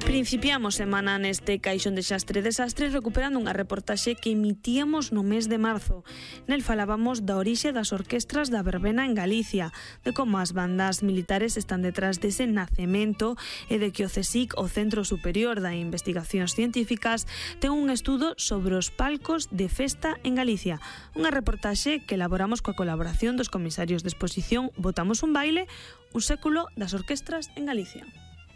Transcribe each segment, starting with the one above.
Principiamos semana neste Caixón de Xastre Desastre recuperando unha reportaxe que emitíamos no mes de marzo. Nel falábamos da orixe das orquestras da verbena en Galicia, de como as bandas militares están detrás dese nacemento e de que o CSIC, o Centro Superior de Investigacións Científicas, ten un estudo sobre os palcos de festa en Galicia. Unha reportaxe que elaboramos coa colaboración dos comisarios de exposición Botamos un baile, un século das orquestras en Galicia.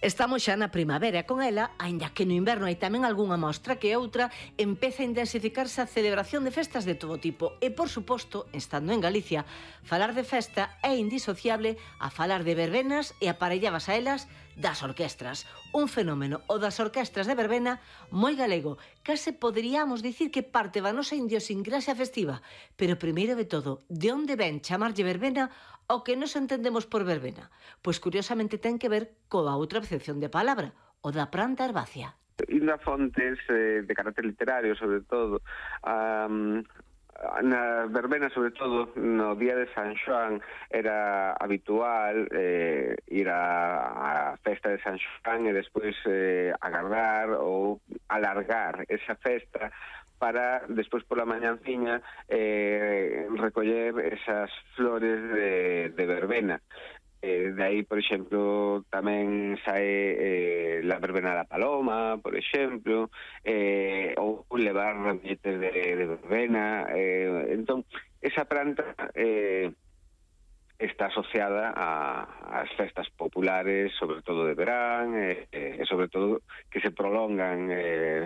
Estamos xa na primavera e con ela, aínda que no inverno hai tamén algunha mostra que outra, empeza a intensificarse a celebración de festas de todo tipo. E, por suposto, estando en Galicia, falar de festa é indisociable a falar de verbenas e aparelladas a elas das orquestras. Un fenómeno, o das orquestras de verbena, moi galego. Case poderíamos dicir que parte da nosa idiosincrasia festiva. Pero, primeiro de todo, de onde ven chamarlle verbena o que nos entendemos por verbena? Pois, curiosamente, ten que ver coa outra acepción de palabra, o da planta herbácea. Indo a fontes de carácter literario, sobre todo, na verbena, sobre todo, no día de San Xoán, era habitual ir a festa de San Xoán e despois agardar ou alargar esa festa para despois pola mañanciña recoller esas flores de verbena. De aí, por exemplo, tamén sae la verbena da paloma, por exemplo, ou levar ramilletes de verbena. Entón, esa planta está asociada ás festas populares, sobre todo de verán, e sobre todo que se prolongan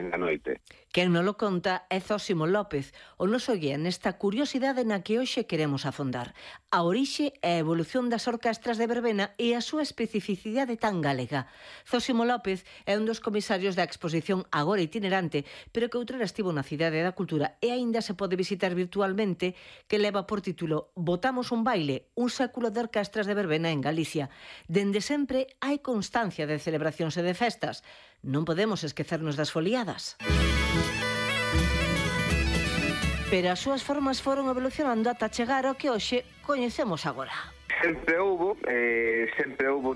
na noite. Quen non lo conta é Zósimo López, o noso guía nesta curiosidade na que hoxe queremos afondar. A orixe e a evolución das orquestras de verbena e a súa especificidade tan galega. Zósimo López é un dos comisarios da exposición agora itinerante, pero que outrora estivo na Cidade da Cultura e aínda se pode visitar virtualmente, que leva por título Botamos un baile, un século de orquestras de verbena en Galicia. Dende sempre hai constancia de celebracións e de festas. Non podemos esquecernos das foliadas. Pero as súas formas foron evolucionando ata chegar ao que hoxe coñecemos agora. Sempre houbo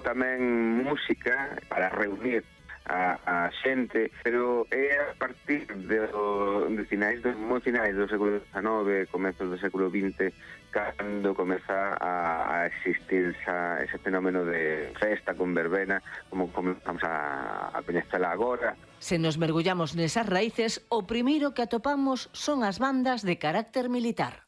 tamén música para reunir a xente, pero é a partir moi finais do século XIX, comezos do século XX, cando comeza a existir ese fenómeno de festa con verbena, como comenzamos a coñecela agora. Se nos mergullamos nesas raíces, o primeiro que atopamos son as bandas de carácter militar.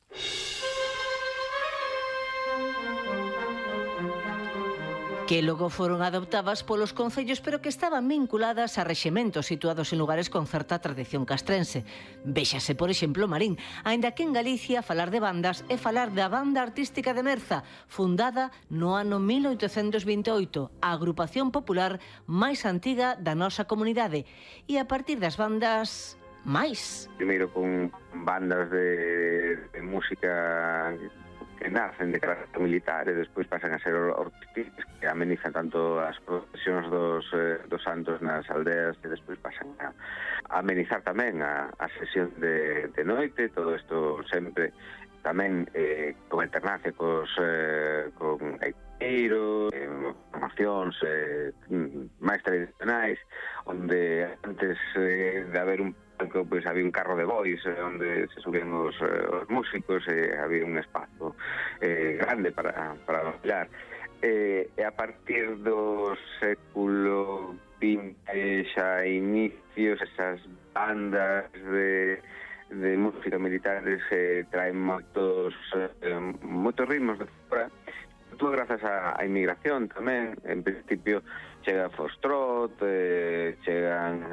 Que logo foron adoptadas polos concellos, pero que estaban vinculadas a reximentos situados en lugares con certa tradición castrense. Véxase, por exemplo, Marín, aínda que en Galicia falar de bandas é falar da Banda Artística de Merza, fundada no ano 1828, a agrupación popular máis antiga da nosa comunidade. E a partir das bandas máis. Primeiro con bandas de música que nacen de carácter militar e despois pasan a ser orquestas que amenizan tanto as procesións dos santos nas aldeas e despois pasan a amenizar tamén a sesión de noite. Todo isto sempre tamén con alternancia con gaiteiros, formacións máis tradicionais, onde antes de haber un palco, pois había un carro de bois onde se subían os músicos e había un espazo grande para bailar. E a partir do século XX xa inicios esas bandas de música militares traen moitos ritmos de fora, todo grazas á inmigración tamén. En principio chega Foxtrot, chegan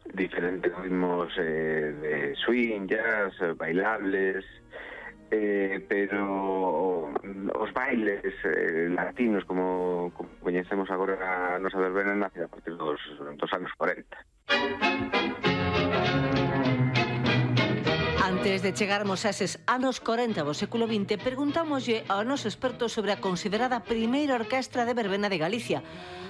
diferentes ritmos de swing, jazz, bailables, pero os bailes latinos como coñecemos agora a nosa verbena nace a partir dos anos 40. Antes de chegarmos a eses anos 40 do século XX, preguntámoslle ao noso experto sobre a considerada primeira orquestra de verbena de Galicia.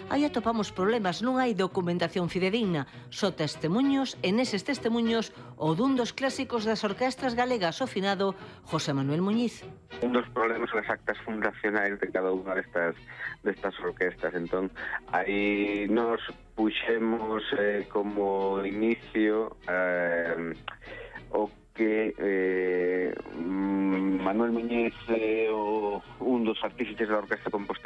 Aí atopamos problemas, non hai documentación fidedigna, só testemuños, e neses testemuños o dun dos clásicos das orquestras galegas, o finado José Manuel Muñiz. Un dos problemas son as actas fundacionais de cada unha destas orquestas. Entón, aí nos puxemos como inicio o que Manuel Muñiz é un dos artífices da Orquesta Compostela